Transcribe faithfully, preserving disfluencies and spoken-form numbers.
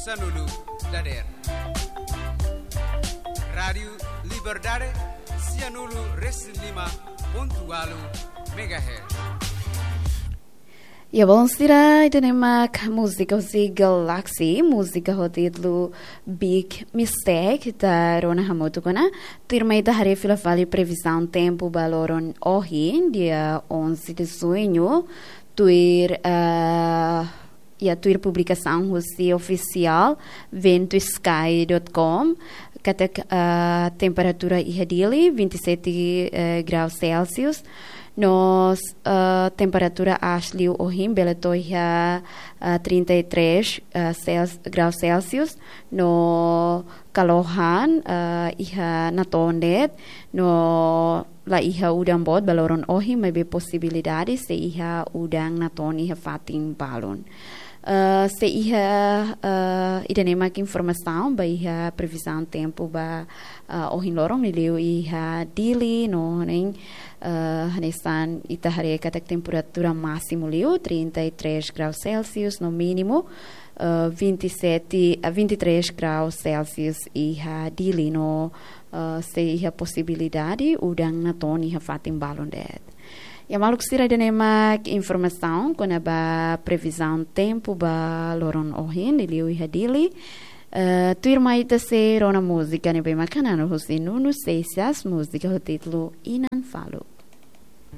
Sianulu dader. Rádiu Liberdade, sianulu resin lima pontu ualu megahertz. Ya, bon, sira, ida-ne'e mak múzika husi Galaxy, múzika ho títulu Big Mistake, ita rona hamutuk ona. Tuirmai ita haree fila fali previzaun tempu ba loron ohin, dia onze de junho, tuir, ah, ya, tuir publikasaun husi ofisiál ventusky dot com, katak, ah, temperatura iha Dili vinte e sete, eh, graus Celsius, no, ah, temperatura aas liu ohin bele to'o iha, ah, trinta e três, ah, Cel-, graus Celsius, no kalohan, ah, iha natoon de'it, no la iha udan boot ba loron ohin, maibé posibilidade sei iha udan natoon iha fatin balun. Eh, sei iha, eh, ida-ne'e mak informasaun ba iha previzaun tempu ba, eh, ohin loron liuliu iha Dili, no ne'e, eh, hanesan ita haree katak temperatura másimu liu trinta e três graus Celsius, no mínimu, eh, vinte e sete, eh, vinte e três graus Celsius iha Dili, no, eh, sei iha posibilidade udan natoon iha fatin balun de'it. Ya, maluk sira, ida-ne'e mak informasaun kona-ba previzaun tempu ba loron ohin liuliu iha Dili. Eh, tuirmai ita sei rona múzika ne'ebé mak hananu husi Nuno Seixas, múzika ho títulu Inan Faluk.